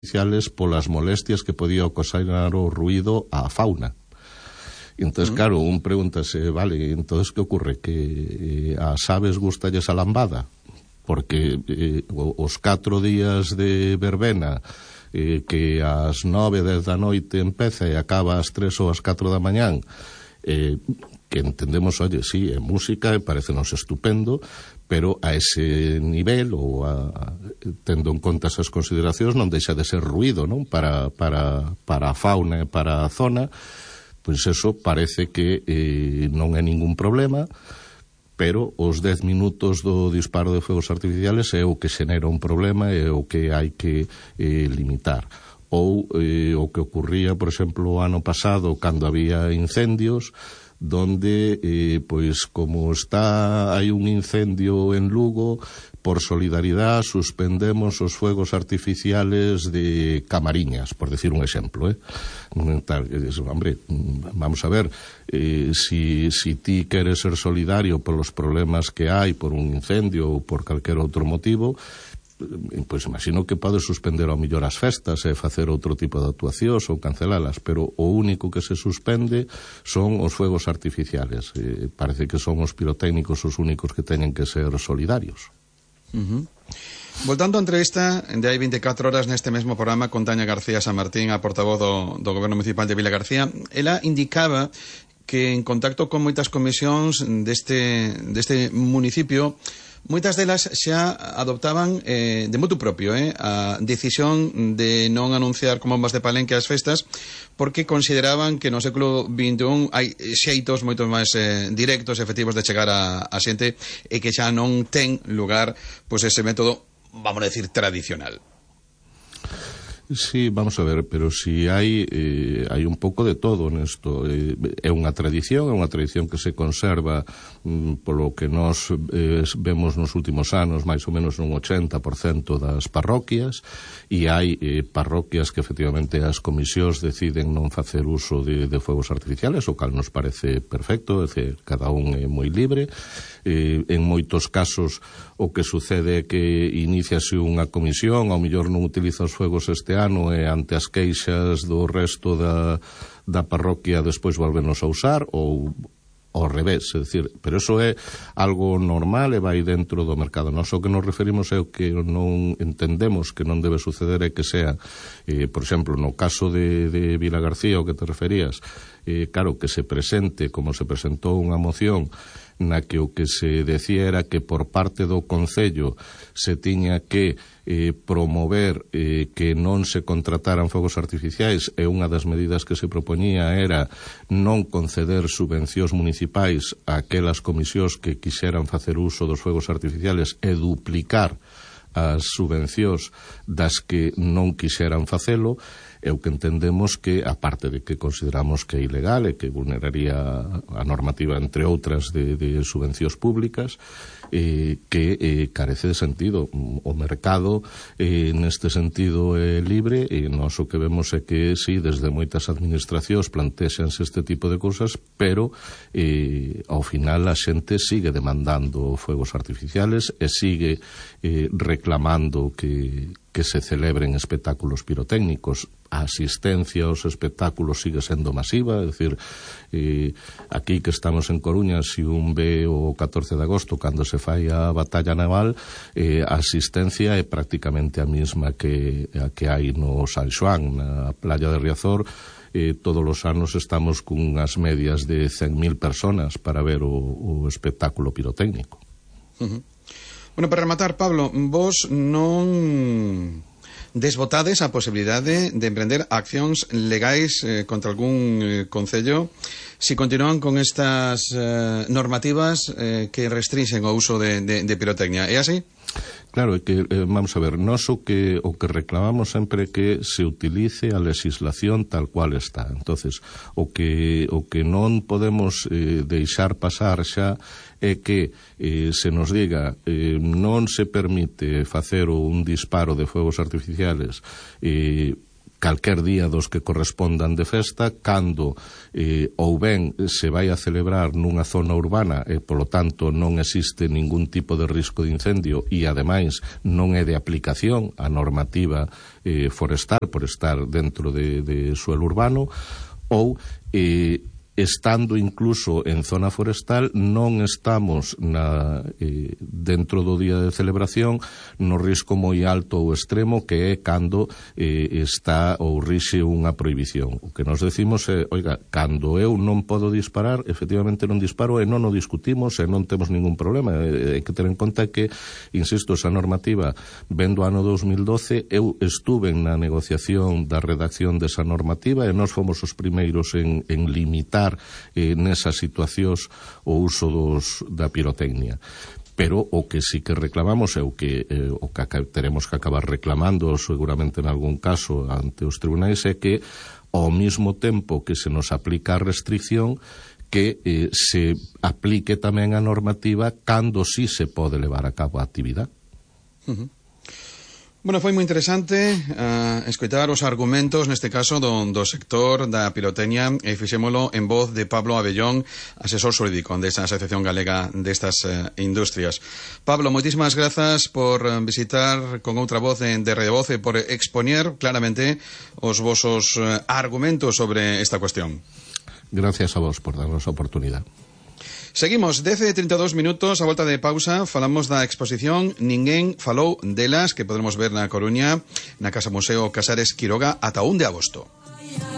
artificiales polas molestias que podía ocasionar o ruido á fauna. Entonces, claro, un pregúntase, vale, entonces que ocurre? Que ás aves gustalles a lambada? Porque os 4 días de verbena que ás 9, 10 da noite empeza e acaba ás 3 ou ás 4 da mañán, que entendemos, oye, sí, é música e parecenos estupendo, pero a ese nivel ou tendo en conta esas consideracións non deixa de ser ruido, non? Para a fauna e para a zona. Pois eso parece que non é ningún problema, pero os 10 minutos do disparo de fogos artificiales é o que xenera un problema e o que hai que limitar. Ou o que ocurría, por exemplo, o ano pasado, cando había incendios, donde, pois, como hai un incendio en Lugo, por solidaridade suspendemos os fuegos artificiales de Camariñas, por decir un exemplo, hombre, vamos a ver, si ti queres ser solidario polos problemas que hai por un incendio ou por calquer outro motivo, pois imagino que podes suspender ao mellor as festas e facer outro tipo de actuacións ou cancelalas, pero o único que se suspende son os fuegos artificiales. Parece que son os pirotécnicos os únicos que teñen que ser solidarios. Voltando á entrevista de hai 24 horas neste mesmo programa con Tania García San Martín, a portavoz do Goberno Municipal de Vilagarcía, ela indicaba que en contacto con moitas comisións deste municipio, moitas delas xa adoptaban de motu propio a decisión de non anunciar con bombas de palenque as festas, porque consideraban que no século XXI hai xeitos moito máis directos e efectivos de chegar a xente e que xa non ten lugar pois ese método, vamos a decir, tradicional. Sí, vamos a ver, pero si hai un pouco de todo nesto. É unha tradición que se conserva polo que nós vemos nos últimos anos, máis ou menos un 80% das parroquias, e hai parroquias que efectivamente as comisións deciden non facer uso de fuegos artificiales, o cal nos parece perfecto, é dicir, cada un é moi libre. En moitos casos o que sucede é que iniciase unha comisión, ao mellor non utiliza os fuegos este ano e ante as queixas do resto da parroquia despois volvenos a usar, ou ao revés, é dicir, pero eso é algo normal e vai dentro do mercado. Nós o que nos referimos é o que non entendemos que non debe suceder é que sea, por exemplo, no caso de Vilagarcía, o que te referías, claro, que se presente, como se presentou unha moción na que o que se decía era que por parte do Concello se tiña que promover que non se contrataran fogos artificiais, e unha das medidas que se propoñía era non conceder subvencións municipais a aquelas comisións que quixeran facer uso dos fogos artificiales e duplicar as subvencións das que non quixeran facelo. É o que entendemos que, aparte de que consideramos que é ilegal e que vulneraría a normativa, entre outras, de subvencións públicas, que carece de sentido. O mercado, neste sentido, é libre, e nós o que vemos é que, sí, desde moitas administracións plantexanse este tipo de cousas, pero ao final a xente sigue demandando fuegos artificiales e sigue reclamando que se celebren espectáculos pirotécnicos. A asistencia aos espectáculos sigue sendo masiva, é dicir, aquí que estamos en Coruña, se un ve o 14 de agosto cando se fai a batalla naval, a asistencia é prácticamente a mesma que hai no San Xoán, na playa de Riazor. Todos os anos estamos cunhas medias de 100.000 personas para ver o espectáculo pirotécnico. Bueno, para rematar, Pablo, vos non desbotades a posibilidade de emprender accións legais contra algún concello si continúan con estas normativas que restringen o uso de pirotecnia. É así? Claro, é que, vamos a ver, nós o que reclamamos sempre é que se utilice a legislación tal cual está. Entonces, o que non podemos deixar pasar xa é que se nos diga non se permite facer un disparo de fuegos artificiales calquer día dos que correspondan de festa, cando ou ben se vai a celebrar nunha zona urbana e, polo tanto, non existe ningún tipo de risco de incendio e, ademais, non é de aplicación a normativa forestal por estar dentro de suelo urbano, ou estando incluso en zona forestal non estamos dentro do día de celebración no risco moi alto ou extremo que é cando está ou rixe unha prohibición. O que nos decimos é, oiga, cando eu non podo disparar, efectivamente non disparo e non o discutimos e non temos ningún problema. Hai que ter en conta que, insisto, esa normativa vendo ano 2012, eu estuve na negociación da redacción desa normativa e nós fomos os primeiros en limitar nesas situacións o uso da pirotecnia. Pero o que sí que reclamamos é o que teremos que acabar reclamando seguramente en algún caso ante os tribunais, é que ao mesmo tempo que se nos aplica a restricción, que se aplique tamén a normativa cando sí se pode levar a cabo a actividade. Bueno, foi moi interesante escoitar os argumentos, neste caso, do sector da pirotecnia, e fixémolo en voz de Pablo Abellón, asesor xurídico desta Asociación Galega destas Industrias. Pablo, moitísimas grazas por visitar con outra voz de Radio Voz e por expoñer claramente os vosos argumentos sobre esta cuestión. Gracias a vos por darnos a oportunidade. Seguimos, 10:32 minutos, a volta de pausa, falamos da exposición Ninguén falou delas, que podremos ver na Coruña, na Casa Museo Casares Quiroga, ata 1 de agosto.